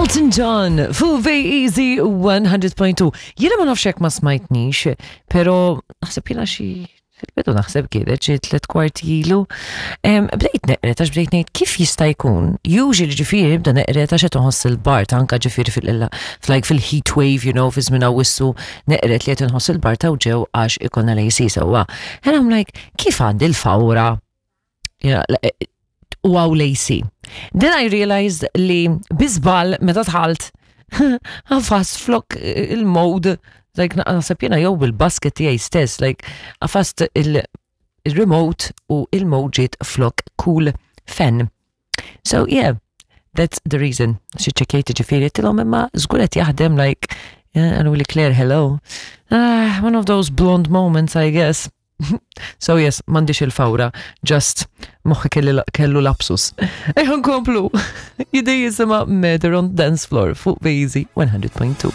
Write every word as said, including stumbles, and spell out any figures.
Elton John fuq Easy one hundred point two. Jiena ma nafx jekk ma smajtnix, pero naħseb jiena xi fil-bidu, naħseb kienet xi tliet kwarti ilu. Em, Bdejt neqred għax bdejt ngħid kif jista' jkun. Usually ġifieri bda neqred għax qed inħoss il-bard, anka ġifieri fil like fil-heat wave, you know, fi żmien Awwissu neqred li qed inħoss il-bard u ġew għax ikollna l-A C sewwa. And I'm like, kif għandi l-fawra? Yeah, u hawn l-A C. Then I realized li bi żball meta dħalt għafast flok il-mode, like naħseb jiena jew bil-basket tiegħi stess, like għafast il- il-remote u il-mode ġiet flok cool fan. So yeah, that's the reason. Xi ċekjajt ġifieri tilhom imma żgur qed jaħdem, like, yeah, għalu li "Claire, hello." Ah, one of those blonde moments, I guess. So yes, m'għandix il-fawra, just moħħi kelli- kellu lapsus. Ejja nkomplu. Jidej jisimha Murder on Dance Floor fuq Easy one hundred point two.